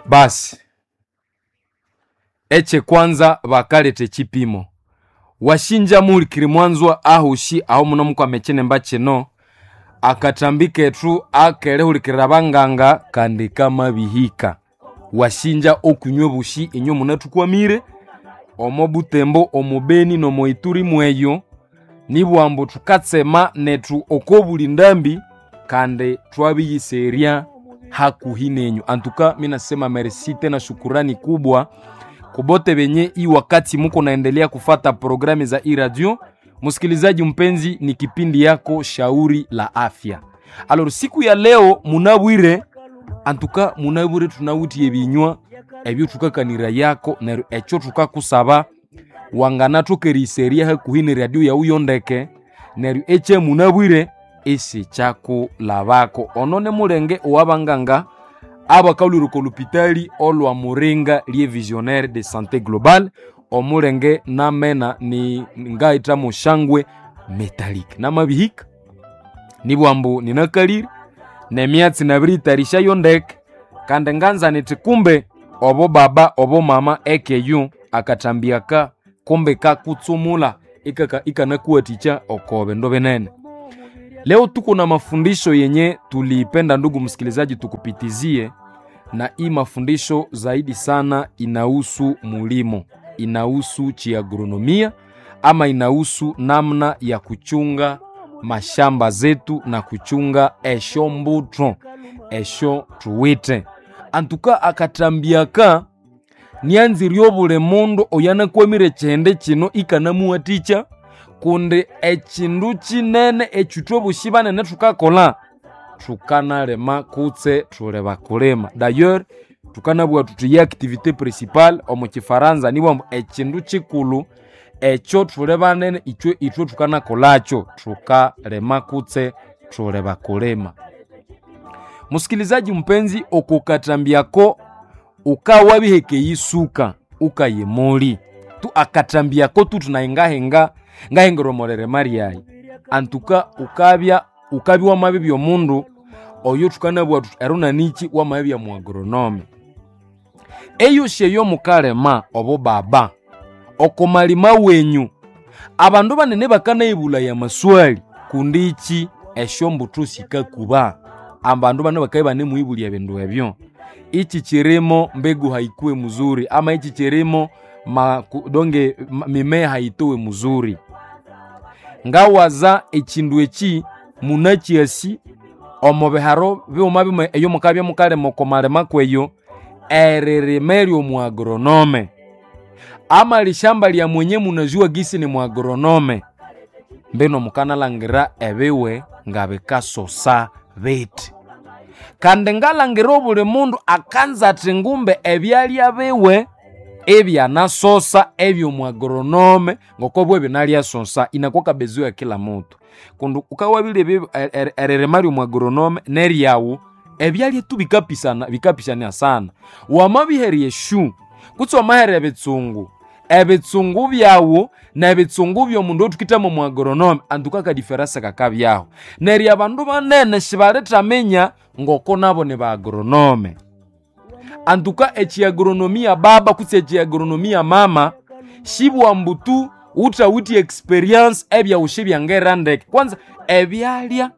Basi ekyekwanza bakaleta ekipimo washinja muhulikiri mwanzwa ahushi aho muno mukwama ekinimba kino akathambi kethu akerihulikirira abanganga kandi kamabihika. Washinja okunywa obushi inywe munathukwamire omo Butembo, omo Beni nomo Ituri mweyo nibwambu thukatsema nethu okobuli ndambi kandi twabiyiserya hakuhi nenyu. Antuka minasema merci tena shukurani kubwa kubote benye hii wakati muko naendelea kufata programu za iradio. Msikilizaji mpenzi, ni kipindi yako shauri la afya. Alors siku ya leo munabwire, antuka munabwire tunawitiye binywa ebyo thukakanira yako neryo ekyo thukakusaba wanganathoka hakuhi ne radio yawu yondeke neryo ekye munabwire isikyakulabako. Ono ni mulenge owabanganga abakalhwira olupitali olwa Muringa lye Visionnaire de Santé Globale. Omulenge namena ni ngaita mushangwe metallic namabihika nibwambu ninakalire nemyatsi nabiriyitarishayo ndeke kandi nganza nithi kumbe obo baba obo mama ekeyu akathambiaka kumbe kakutsumula ikanakuwathikya oko bindu binene. Leo tuko na mafundisho yenye tuliipenda, ndugu msikilizaji, tukupitizie na hii mafundisho zaidi sana inahusu mulimo, inahusu chiagronomia ama inahusu namna ya kuchunga mashamba zetu na kuchunga esho mbuto esho tuwite. Antuka akatambiaka nianzirye obuli mundu oyanakwamire ekihindi kino ikanamuwathikya kundi ekindu kinene ekithwe obushi banene thukakolha thukanalima kutse thuli bakulima. D'ailleurs thukanabugha thuthi ye activité principale omu kifaransa nibwambu ekindu kikulhu ekyo thuli banene ithwe ithwe thukanakolhakyo thukalima kutse thuli bakulima. Musikilizaji mpenzi, okukathambiako ukawabiheka eyisuka ukayimuli tu akathambiako tu thunahingahinga ngahingirwa omulirima lyayi antuka ukabya ukabya wamabibya omundu oyo thukanabugha thuthi erunaniki wamabibya muagronome. Eyosi eyo mukalima obo baba oko malima wenyu abandu banene bakanayibulaya amaswali kundi iki esyombuthu sikakuba. Abandu bano bakabya ibanemuhibulya ebindu ebyo. Ichi chirimo mbegu haikuwe mzuri ama ichi chirimo donge mimea haitowe mzuri. Ngawaza ekindu eki munakyasi omo biharo bighuma bimwe eyo mukabya mukalima oko malima kweyo eririma eryomuagronome ama lishamba lya mwenye munajuwa gisi ni muagronome mbino mukanalangira ebiwe nga bikasosa bithi. Kandi ngalangira obuli mundu akanza athi ngumbe ebyalya biwe ebyanasosa ebyomuagronome ngoko bwe binalyasosa inakuwa kabezo ya kila mutu kundi ukawabile eririma lyomuagronome neryawu ebyalya tu bikapisana bikapisania sana. Wamabiherya eshu kutse wamaherya ebitsungu ebitsungu byawu nebitsungu byomundu othukithamo muagronome antuka akadiferense kakabyaho. Neryo abandu banene sibalithaminya ngoko nabo ni baagronome. Antuka echiagronomia baba kutse echiagronomia mama shibwambu tu uthawithe experience ebyawu sibyangera ndeke. Kwanza ebyalya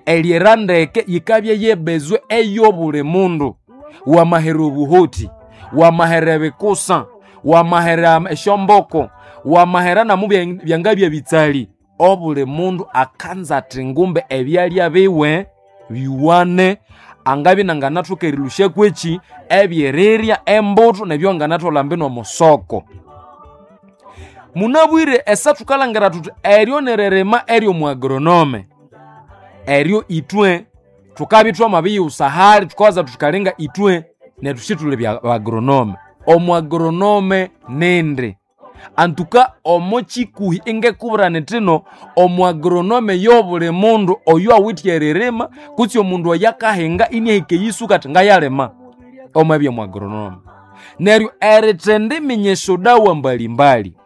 eryera ndeke yikabya yebezwe eyobuli mundu. Wamahera obuhoti, wamahera ebikusa, wamahera esyomboko, wamahera namu byangabya bitsali. Obuli mundu akanza athi ngumbe ebyalya biwe biwane angabya inanganathoka erilusya kweki ebyerirya embuto nebyo anganatholha mbino omusoko. Munabwire esa thukalangira thuthi eryo niririma eryomuagronome eryo ithwe thukabya thwamabiyighusa hali thukawaza thukalinga ithwe nethu sithuli bagronome. Omuagronome nindi antuka omo kikuhi ingekubwira nithino omuagronome yobuli mundu oyo awithe eririma kutse omundu oyo akahinga iniahika eyisuka athi ngayalima omwabya muagronome. Neryo erithendiminya esyodawa mbalimbali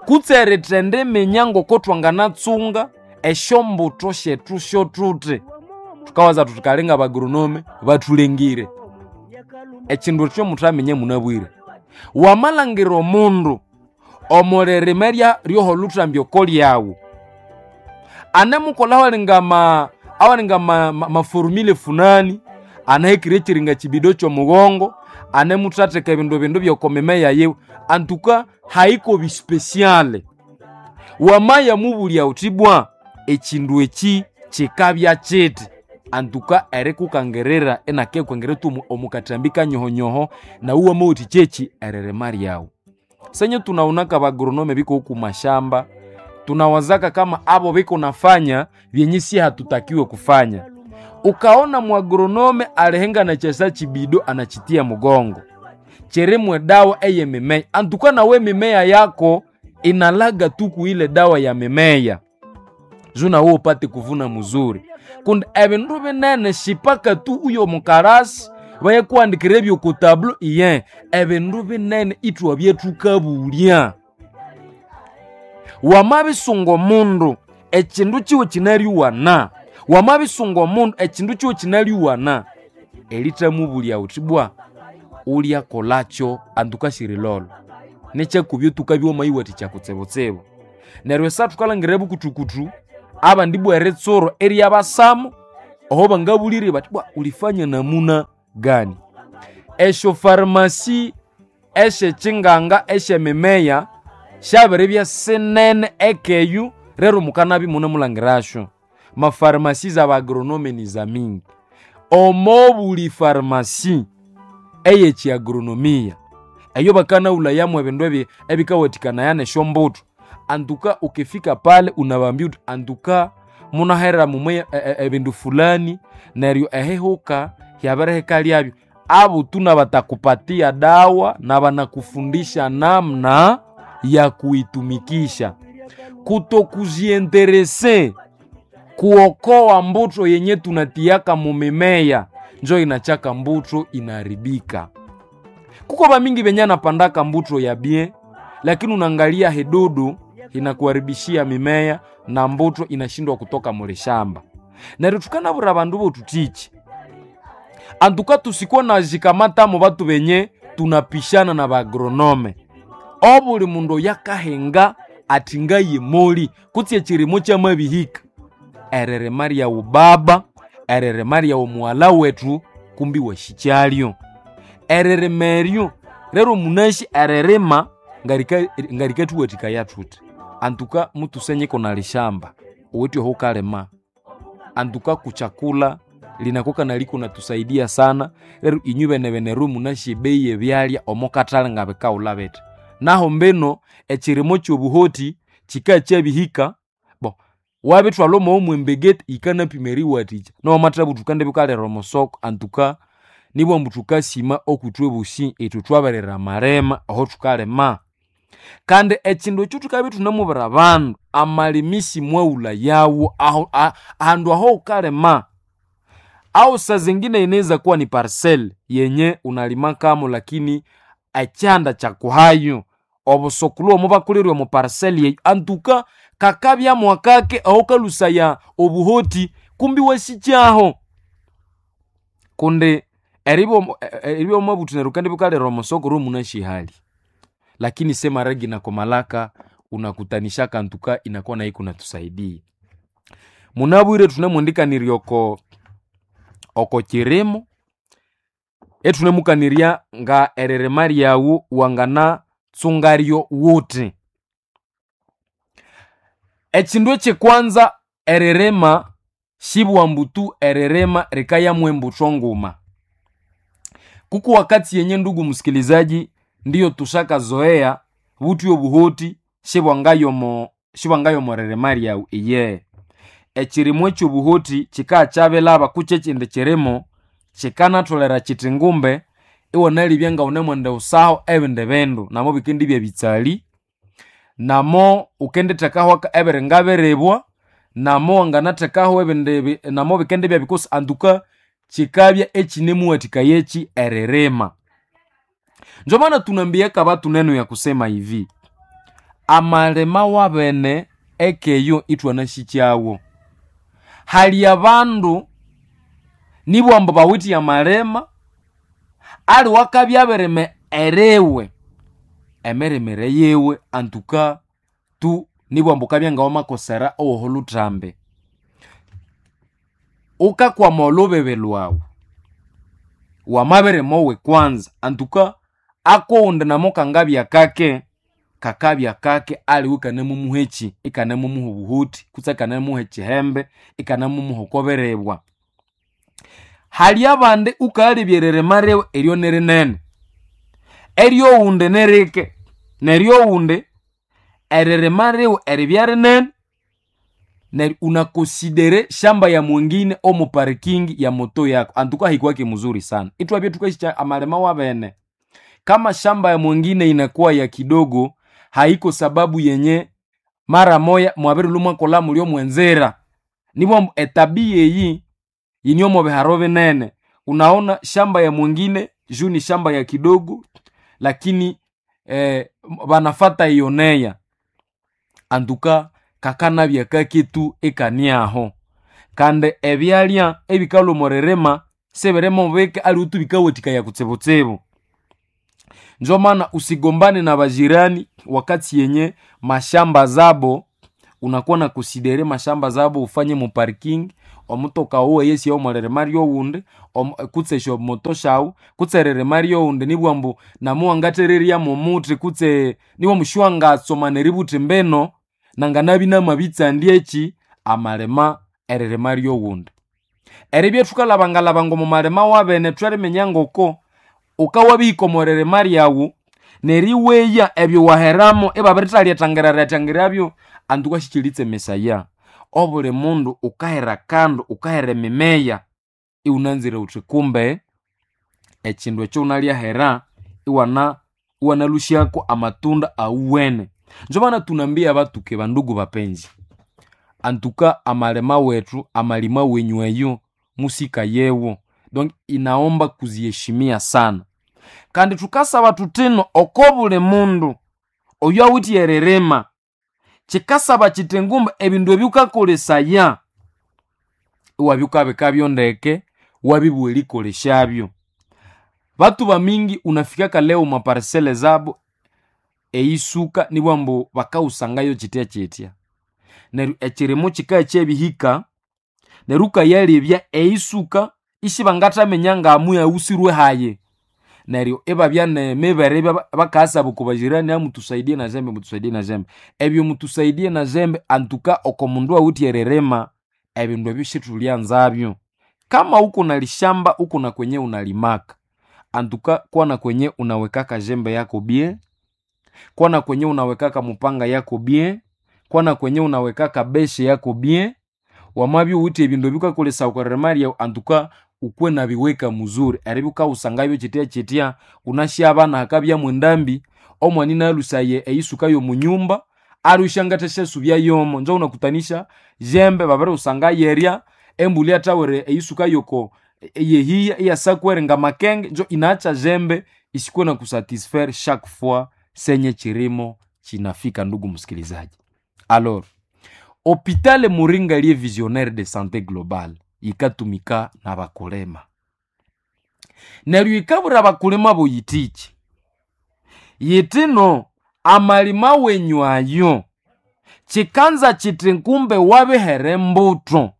kutse erithendiminya ngoko thwanganatsunga esyombutho syethu syothuthi thukawaza thuthi kalinga abagronome bathulengire. Ekindu ekyo muthaminya munabwire. Wamalangira omundu omulirima ryoholuthambi oko lyawu anemukolha awalinga maforumile funani, anahekire ekiringa kibido kyomugongo, anemuthatheka ebindu bindu byokomimeya yiwe, antuka haiko bispesiale. Wamaya mubulya wuthi bwa ekindu eki kikabya kiti, antuka erikukangirira inakikukangira tu omukathambi kanyohonyoho, nawu wamawathikya eki eririma lyawu. Senye tunawunaka abagronome biko oku mashamba, tunawazaka kama abo biko nafanya vyenye si hatutakiwe kufanya. Ukaona muagronome alihenga na chesa chibido anachitia mugongo chirimwe dawa eye mimea, antuka nawe mimea yako inalaga tuku ile dawa ya mimea juu nawe upate kuvuna muzuri. Kundi ebindu binene shipaka tu uyo mukarasi bayekuandikira ebyo ku tablo iye ebindu binene ithwa byethukabulya. Wamabisunga omundu ekindu kiwe kinalyuwana, wamabisunga omundu ekindu kiwe kinalyuwana, erithamubulya wuthi bwa ulyakolakyo antuka sirilolo nekyakubya tukabya wamayiwathikya kutsibutsibu. Neryo esa thukalangira ebukuthukutu abandi bwa eritsuro eryabasamo oho bangabulirye bathi bwa ulifanya namuna gani. Esyo farmasi esyekyinganga esyemimeya syabiribya sinene ekeyu rero mukanabya imunemulhangirasyo. Mafarmasi z'abagronome ni zamingi. Omo buli farmasi eyekyiagronomia eyo bakanaghulhayamu ebindu ebikawathikanaya nesyombutho, antuka ukifika pale unabambia uthi antuka munahera mumwe ebindu fulani neryo ehihuka hyabirihika lyabyo. Abo tu nabatakupatia dawa na banakufundisha namna ya kuitumikisha. Kutokujienterese kuokoa mbutho yenye tunatiaka mumimea njo inachaka mbutho inaharibika. Kuko bamingi benye anapandaka mbutho ya bien, lakini unaangalia hidudu inakuharibishia mimea na mbutho inashindwa kutoka mulishamba. Neryo thukanabwira abandu bothuthiki antuka tusikuwa nazikamatamu batu benye tunapishana na bagronome. Obuli mundu oyakahinga athi ngayemoli kutse ekirimo kyamabihika, eririma lyawu baba, eririma lyawu mughalha wethu kumbi wasikyalyo. Eririma eryo rero munasi eririma ngarikathuwathikaya thuthi antuka mutusenyeko nalishamba uwithe ohukalima antuka kuchakula linakuwa naliko natusaidia sana. Rero inywe bene beneru munasi ebeyi yebyalya omo kathalhi ngabikawulha bithi. Naho mbino ekirimo kyobuhoti kikakyabihika bo wabithwalha omo mwembegeti yikanapima eriwathikya nowamathabuthuka thukandibya wukalira omusoko antuka nibwambu thukasima okwithwe bosi ithwe thwabirira amalima aho thukalima. Kandi ekindu ekyo thukabya ithunamubwira abandu amalimisi mwaghulhayawo aho ahandu aho wukalima au saa zingine inaweza kuwa ni parcel yenye unalimakamo lakini ekyanda kyakuhayo obusokulhu omo bakulirwe omu parcel yeyo antuka kakabya mwakake aho kalusaya obuhoti kumbi wasikyaho kundi eribya wamabuthi neryo wukandibya wukalira omusoko rwe munashihali lakini semaragi nakomalaka unakutanishaka antuka inakuwa nayo ikunatusaidia. Munabwire thunemwendikanirya oko oko kirimo ethunemukanirya nga eririma lyawu wanganatsungaryo wuthi. Ekindu ekyekwanza eririma sibwambu tu eririma rikayamu embutho nguma. Kuko wakati yenye ndugu msikilizaji, ndiyo tushakazoea buthi obuhoti sibwangayomo ririma lyawu iye. Ekirimo ekyobuhoti kikakyabelaba kutse ekindi kirimo kikanatholera kithi ngumbe iwanalibya ngawunemwenda wusaho ebindi bindu namo bikendibya ebitsali, namo wukendithekaho ebiringa biribwa, namo wanganathekaho ebindi namo bikendibya bikosi antuka kikabya ekinemuwathikaya eki eririma. Njo maana tunambiaka batu neno ya kusema hivi, amalima wabene ekeyo ithwanasikyagho. Hali abandu nibwambu bawithe amalima. Ali wakabya abirime eriwe emirimire yiwe antuka tu nibwambu ukabya ngawamakosera owoho luthambi. Ukakwama olhubibi lwawu wamabirima owe kwanza antuka akowundi namo kangabya kake, kakabya kake aliwe ikanemumuha eki, ikanemumuha obuhuthi kutse ikanemuha ekihembe, ikanemumuha okobiribwa. Hali abandi ukalebya eririma riwe eryo nirinene, eryowundi nirike, neryo owundi eririma riwe eribya rinene neryo unakonsidere shamba ya mwengine omu parking ya moto yako antuka haikuwake mzuri sana. Itwabya tukasikya amalima wabene kama shamba ya mwengine inakuwa ya kidogo, haiko sababu yenye mara moya mwabirilwa mwakolha mulyo mwenzira. Nibwambu etabia eyi yinyomo biharo binene. Unaona shamba ya mwengine juu ni shamba ya kidogo, lakini banafata iyoneya antuka kakanabya kaketu ikaniaho. Kandi ebyalya ebikalhwa omo ririma sibirimo bike aliwe tu bikawathikaya kutsibutsibu. Njo maana usigombane na bajirani wakati yenye mashamba zabo unakuwa na konsidere mashamba zabo ufanye mu parking omutoka wuwe yesiya omw'eririma ryowundi kutse esyomoto syawu kutse eririma ryowundi nibwambu namuwangathererya momuthi kutse nibwambu siwangatsomana eributhi mbino nanganabya inamabitsandya eki amalima eririma ryowundi. Eribya thukalhabangalhabanga omo malima wabene thweriminya ngoko wukawabihika omo ririma ryawu neriweya ebyo waheramu ibabirithaliatangiraryatangirabyo antu sikyilitsemesaya. Obuli mundu wukahera akandu, wukahera emimeya iwunanzire wuthi kumbe ekindu ekyo wunalyahera iwana iwanalhusyako amatunda awuwene. Njo maana tunambia batuke bandugu bapenzi, antuka amalima wethu amalima wenyu eyo musikayewo donc inaomba kuziheshimia sana. Kandi thukasaba thuthino oko buli mundu oyo awithe eririma, kikasaba kithi ngumba ebindu ebyukakolesaya iwabya wukabikabyo ndeke wabibugha erikolesyabyo. Batu bamingi unafikaka leo omo parcelle zabo eyisuka nibwambu bakawusangayo kyitya kyitya. Neryo ekirimu kikaya kyabihika neryo wukayalebya eyisuka isibangathaminya ngamuyaghusirwe hayi. Neryo ibabya nemibere bakayasaba oko bajirani amutusaidie na jembe, mutusaidie na jembe. Ebyo mutusaidie na jembe antuka oko mundu awithe eririma ebindu ebyo sithulyanzabyo. Kama wuko nalishamba uko na kwenye unalimaka antuka kuwa na kwenye unawekaka jembe yako bien, kuwa na kwenye unawekaka mupanga yako bien, kuwa na kwenye unawekaka beshe yako bien. Wamabya iwuwithe ebindu ebyukakolesaya okwa ririma ryawu antuka wukwe nabiweka muzuri eribya wukawusangabyo kyitya kyitya wunasi abana hakabyamu endambi omwana inalhusaye eyisuka y'omunyumba alhusya ngathasyasubya yomo. Njo wunakutanisha jembe babiriwusanga yerya embulhi yathawere eyisuka yoko eyehiya iyasakwere ngamakenge njo inaacha jembe isikuwe na kusatisfaire chaque fois senye chirimo chinafika. Ndugu msikilizaji, alors hopitale Muringa liye visionnaire de santé globale yikatumika n'abakulima neryo yikabwira abakulima boyithiki yithino amalima wenyu ayo kikanza kiti kumbe wabihera embuthu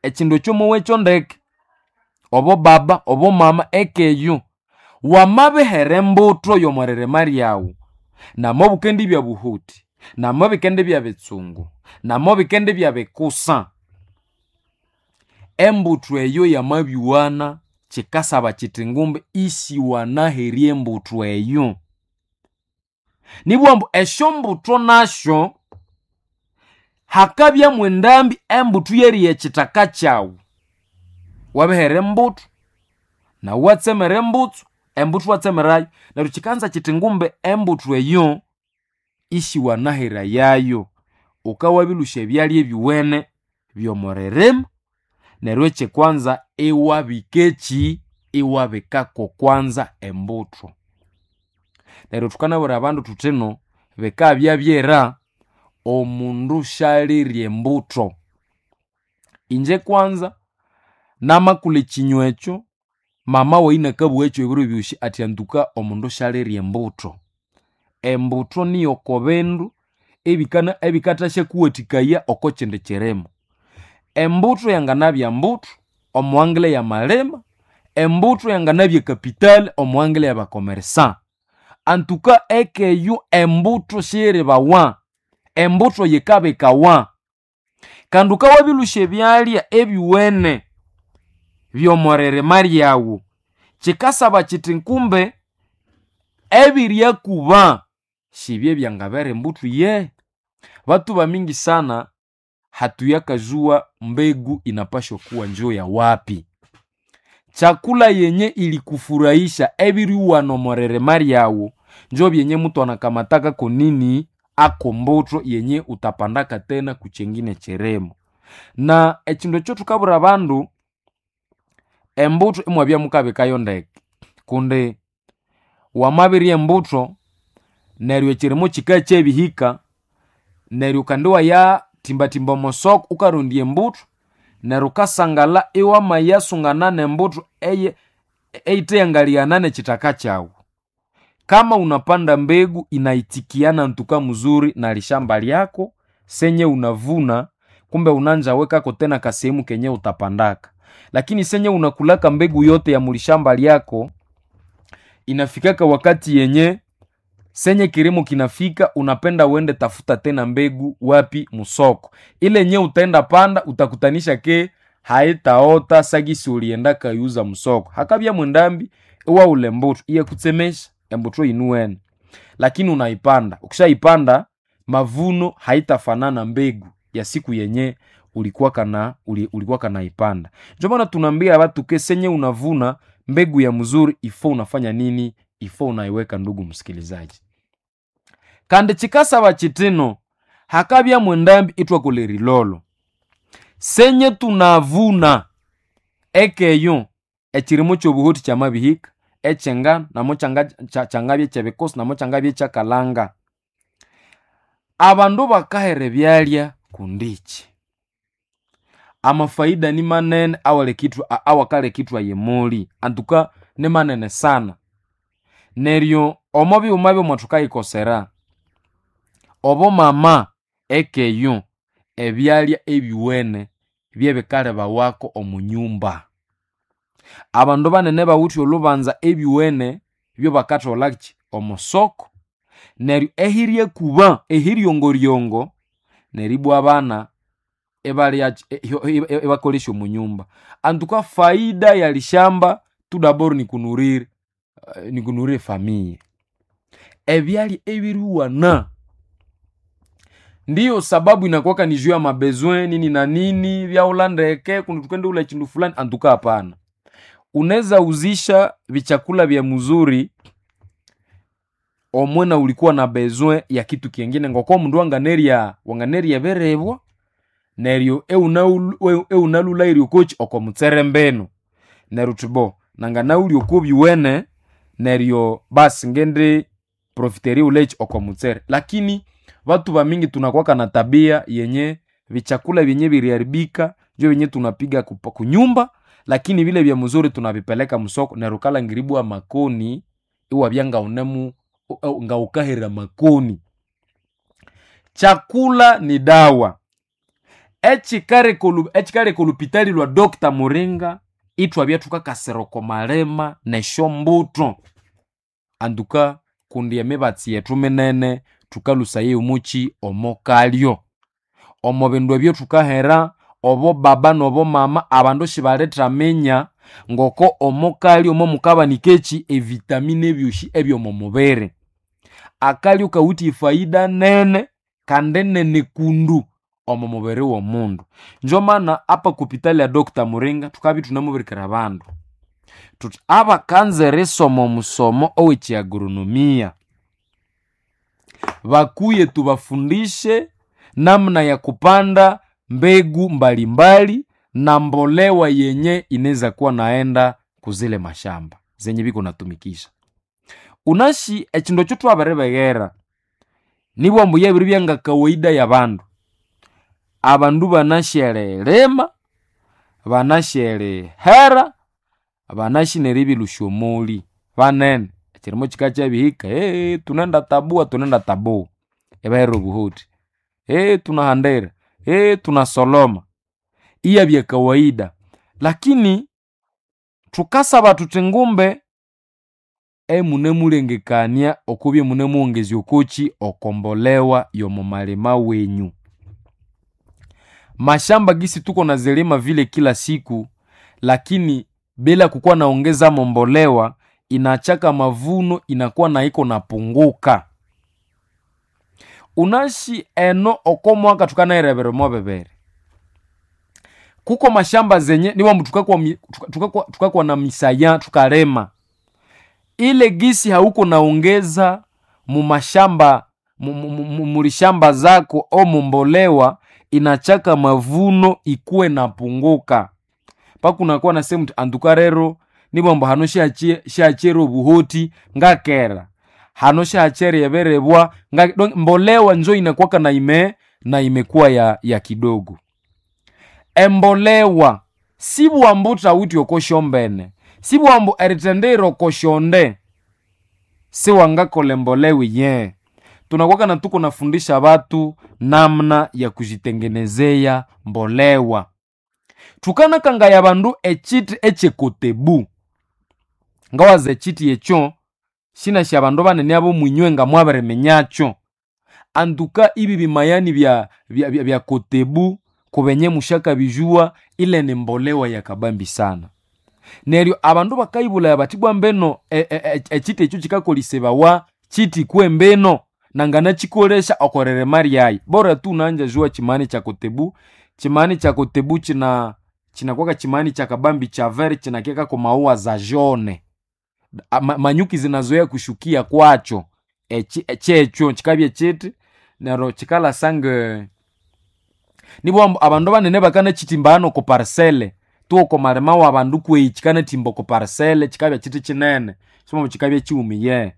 ekindu ekyo mowekyo ndeke obo baba obo mama ekeyo wamabihera embuthu y'omwiririma ryawu namo bukendibya buhuthi namo bikendibya bitsungu namo bikendibya bikusa embuthu eyo yamabyuwana kikasaba kiti ngumbe isiwanaherya embuthu eyo. Nibwambu esyombuthu nasyo hakabyamu endambi embuthu yeriya ekithaka kyawu. Wabihera embuthu nawu iwatsemera embutsu, embuthu iwatsemerayo neryo kikanza kiti ngumbe embuthu eyo isiwanaherayayo. Wukawabilhusya ebyalya ebyuwene by'omuririma neryo ekyekwanza iwabika eki, iwabikako kwanza embuthu. Neryo thukanabwira abandu thuthino bikabya byera omundu syalirya embuthu. Inje kwanza namakulha ekinywa ekyo. Mama wayi nakabugha ebiro ebyosi athi antuka omundu syalirya embuto. Embuto niyo oko bindu ebikathasyakuwathikaya oko kindi kirimo. Embuto yanganabya mbuto omuwangile yamalima, embuto yanganabya capital omuwangile yabakomeresa. Antuka ekeyo embuto siyiribawa, embuto yikabikawa. Kandi wukawabilusya ebyalya ebyuwene by'omwiririma lyawu, kikasaba kiti kumbe ebiryakuba sibye byangabera embuto ye. Batu bamingi sana hatuyakazua mbegu inapashwa kuwa njo ya wapi. Chakula yenye ilikufurahisha ebiriwana omwiririma lyawu njo byenye mutu anakamataka konini ako mbuto yenye utapandaka tena kuchengine chirimo. Na ekindu ekyo thukabwira abandu, embuto imwabya mukabikayo ndeke kundi wamabirya embuto neryo ekirimo kikakyabihika neryo kandi iwayatimbatimba omosoko wukarondya embuto neryo wukasangala iwamayasungana nembuto eyithe nekithaka kyawu. Kama unapanda mbegu inaitikiana ntuka mzuri na lishamba lyako senye unavuna kumbe unanja wekako tena kasehemu kenye utapandaka. Lakini senye unakulaka mbegu yote ya mulishamba lyako inafikaka wakati yenye senye kirimo kinafika unapenda uende tafuta tena mbegu wapi? Musoko. Ile nye utaenda panda utakutanisha ke haitaota sagisi ulienda kayuza musoko. Hakabya mwendambi iwaula embuto iyakutsemesha embuto yinuwene. Lakini unaipanda, ukishaipanda mavuno haitafanana mbegu ya siku yenye ulikuwa kana ulikuwa kanaipanda. Ndio maana tunaambia watu ke senye unavuna mbegu ya mzuri ifo unafanya nini? Ifo unaiweka, ndugu msikilizaji. Kandi chikasaba chitino hakabya mwendambi itwa rilolo. Senye tunavuna ekeyo ekirimo kyobuhuti kyamabihika ekyengano namo kyangabya kyebikosi namo kyangabya kyakalanga. Abandu bakahera ebyalya kundiki. Amafaida ni manene awakalekithwa yemuli antuka ni manene sana. Neryo omo bighuma byomwa thukayikosera obo mama ekeyo ebyalya ebyuwene byebikalebawako omu nyumba. Abandu banene bawithe olhubanza ebyuwene byobakatholaki omusoko neryo ehiryakuba ehiryongoryongo neribwa abana ibakolesya omu nyumba. Antuka faida ya lishamba tu dabord nikunurire nikunurire famille. Ebyalya ebiriwana ndiyo sababu inakuwaka ni juu ya mabesoin nini na nini vyaula ndeke kundi tukendeula chindu fulani antuka hapana. Unaweza uzisha vichakula vya mzuri omwena ulikuwa na besoin ya kitu kingine ngoko mundu wanganerya wanganerya berebwa neryo eunalulairye okochi oko mutsere mbenu neryo uthi bo nanganaulya oko byuwene neryo basi ngende profiterie ulechi oko mutsere. Lakini watu bamingi tunakuwaka na tabia yenye vichakula vyenye viliharibika njo vyenye tunapiga kunyumba, lakini vile vya mzuri tunavipeleka msoko neryo kalangiribwa makoni iwabya ngaunemu ngaukahera makoni. Chakula ni dawa. Echikaleka olupitali lwa Dr. Muringa ithwabya thukakasira oko malima nesyombuto. Antuka kundi emibatsi yethu minene thukalhusaye omuki omo kalyo. Omo bindu ebyo thukahera obo baba nobo mama abandu sibalithaminya ngoko omo kalyo momukabanika eki evitamini ebyosi ebyomo mubiri. Akalyo kawithe efaida nene kandi nene kundu omo mubiri womundu. Njo maana apa kupitali ya Dr. Muringa thukabya ithunamubirikira abandu thuthi abakanza erisoma omusomo owekyiagronomia bakuye tubafundishe namna ya kupanda mbegu mbalimbali na mbolewa yenye inaweza kuwa naenda kuzile mashamba zenye biko natumikisha. Unashi ekindu ekyo thwabiribeghera nibwa ambu yabiribya nga kawaida yabandu. Abandu banasyeririma, banasyeririhera, Banashi neribĩlũsya omoli banene, ekirimo kikakyabihika, tunenda tabua, tunenda tabua, ibahera obuhoti, tunahandira, tunasoloma, iyabya kawaida. Lakini thukasaba thuthi ngumbe emunemulengekania okubya imunemughongezya okoki okombolewa y'omo malima wenyu. Mashamba gisi tuko nazilima vile kila siku, lakini bila kukuwa naongeza mombolewa inachaka mavuno inakuwa na iko napunguka. Unashi eno oko mwaka tukanayirebera omo bibiri, kuko mashamba zenye niwambu tukakwa na misaya tukalima, ile gisi hauko naongeza mumashamba mulishamba zako o mumbolewa inachaka mavuno ikuwe napunguka. Pakunakuwa na sehemu anduka rero nibwambu hano shachere obuhoti ngakera hano shachere eberebwa mbolewa njo inakuwaka na ime na imekuwa ya kidogo. Embolewa sibwambu thawuthi okosyombene, sibwambu erithendera okosyonde siwangakola embolewa iye. Tunakuwaka na tuko nafundisha batu namna ya kujitengenezea mbolewa. Thukanakangaya bandu ekyithi ekyekotebu, ngawaza ekyithi ekyo sinasi abandu banene ab'omwinywe nga mwabiriminyakyo. Anduka ibi bimayani bya kotebu kubenye musyakabijuwa, ile ni mbolewa yakabambi sana. Neryo abandu bakayibulaya bathi bwa mbeno ekyithi ekyo kyikakolesibawa kyithi kwembeno nanganakyikolesya okweririma lyayi. Bora tu unanja juwa kyimani kya kotebu, kyimani kya kotebu kyinakwaka kyimani kyakabambi kyavere kyinakekako maua za jaune. Manyuki zinazoea kushukia kwakyo, kyekyo kyikabya kyithi neryo kyikalasa nge nibwambu abandu banene bakanakyitimba hano oko parcelle tu oko malima w'abandu kweyi kyikanathimba oko parcelle kyikabya kyithi kyinene simwambu kyikabya kyiwumiye.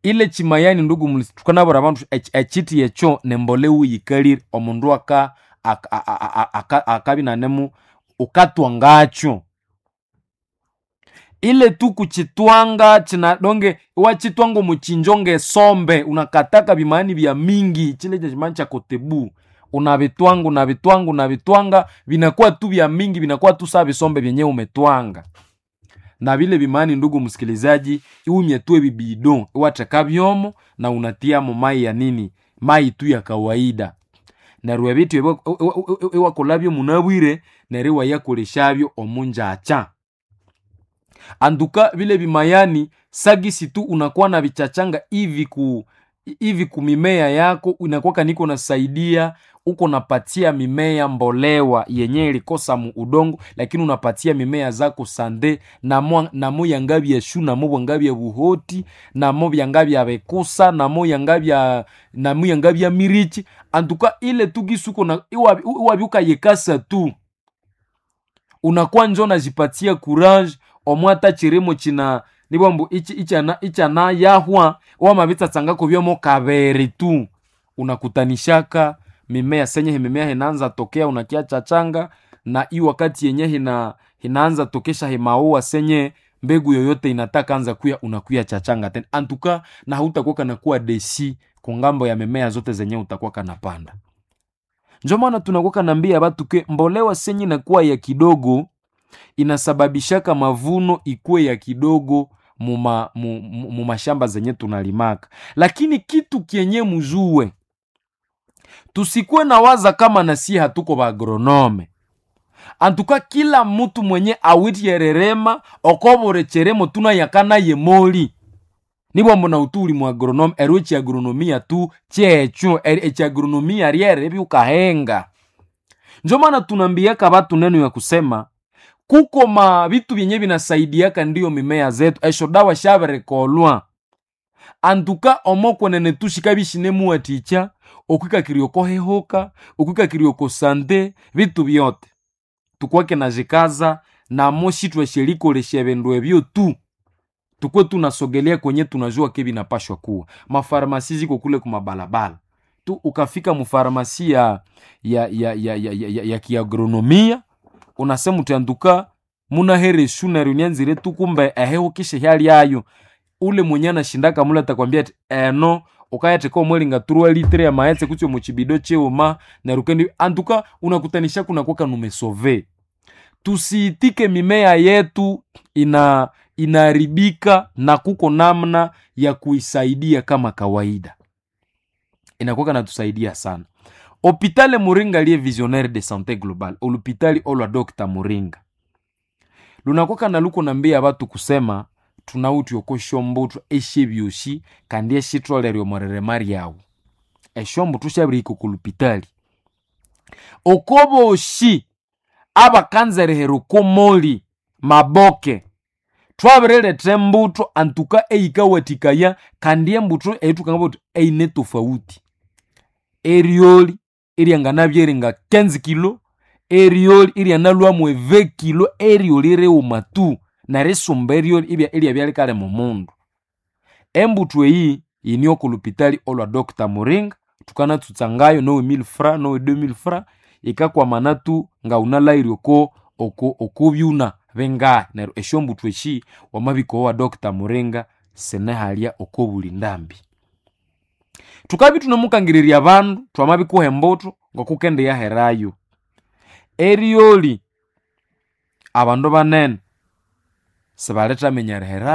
Ile kyimayani ndugu mulisi thukanabwira abandu ekyithi ekyo nembolewa eyikalire omundu akabya inanemu wukatwangakyo. Ile tu kukyitwanga donge iwakyitwanga omo kyinjo ngesombe unakataka bimani bya mingi kyile kyekimani kya kotebu, unabitwanga unabitwanga unabitwanga binakuwa tu bya mingi binakuwa tu sa bisombe byenye umetwanga. Na vile bimani ndugu msikilizaji, iwumye tu ebibido iwatheka byomo na unatiamo mai ya nini, mai tu ya kawaida. Neryo ebithu iwakolhabyo munabwire neryo iwayakolesyabyo omunjakya. Anduka vile bimayani sagisi tu unakuwa na vichachanga hivi kumimea yako inakuwaka niko nasaidia uko napatia mimea mbolewa yenye ilikosa mu udongo, lakini unapatia mimea zako sande namo yangabya shu namo bwangabya buhoti namo byangabya bekusa namo yangabya namo yangabya mirichi. Antuka ile tu gisi uko na iwabyukayekasa tu unakuwa njo najipatia courage omwata chirimo china nibwambu ichana yahwa wamabitsatsangako byomo kabere tu unakutanishaka mimea senye mimea hinaanza tokea unakia chachanga na i wakati yenye hinaanza tokesha himaua senye mbegu yoyote inataka anza kuya unakuya chachanga tena antuka na hautakuwa kana kuwa desi kungambo ya mimea zote zenye utakuwa kanapanda. Njo maana tunakuwa kanambia batu ke mbolewa senye inakuwa ya kidogo inasababishaka mavuno ikuwe ya kidogo mumashamba zenye tunalimaka, lakini kitu kyenye mujue tusikuwe na waza kama nasi hatuko baagronome. Antuka kila mutu mwenye awitiyererema okoborecheremo tuna yakana yemoli nibwambo na utu uli mu agronome ero echiagronomia tu checho echiagronomia ryere byukahenga. Njo maana tunambiaka batu neno ya kusema kuko ma vitu vyenye vinasaidiaka ndiyo mimea zetu esho dawa shaberekolwa antuka omokwenene tushikabishinemuwaticha okwikakirya okohehoka okwikakirya okosante vitu vyote tukwake najikaza namo shitwashelikolesha ebindu ebyo tu tukwe tunasogelea kwenye tunajua ke vinapashwa kuwa mafarmasi ziko kule kumabalabala tu ukafika mufarmasi ya kiagronomia unasema utianduka Munahere eshu neryo nyanzire tu kumbe ehihuka isyalyayo. Ule mwenye anashindaka mule atakwambia ati eno ukayatheka omwelinga 3 litre y'amaghetse kutse omo kibido kighuma neryo ukendi antuka unakutanisha kunakwaka numesove. Tusiitike mimea yetu inaharibika na kuko namna ya kuisaidia kama kawaida. Inakuwaka natusaidia sana. Hopitale Muringa liye visionnaire de santé globale, olupitali olwa Dr. Muringa. Lunakwaka na luko nambia batu kusema tunawithe oko syombuthwa esyebyosi kandi esyitholere omw'eririma lyawu. Esyombuthwa syabirihika oko lupitali. Oko bosi abakanza erihera oko moli maboke, thwabiriletha embuthu antuka eyikawathikaya kandi embuthu eyithukangamba thuthi eyine tofauti. Eryoli eryanganabya eringa 15 kilo, eryoli eryanalhwamu 20 kilo, eryoli righuma tu nerisumba eryoli ibya eryabya likalema omundu. Embuthu eyi yine oko lupitali olwa Dr. Muringa, thukanatsutsangayo nowe 1000 francs, nowe 2000 francs, yikakwamana tu ngawunalhaghire oko oko okobyuna bingahi. Neryo esyombuthu esi wamabika owa Dr. Muringa sinihalya oko buli ndambi. Thukabya ithunemukangirirya abandu thwamabikuha embuthu ngokukendiyaherayo. Eryoli abandu banene sibalithaminya erihera.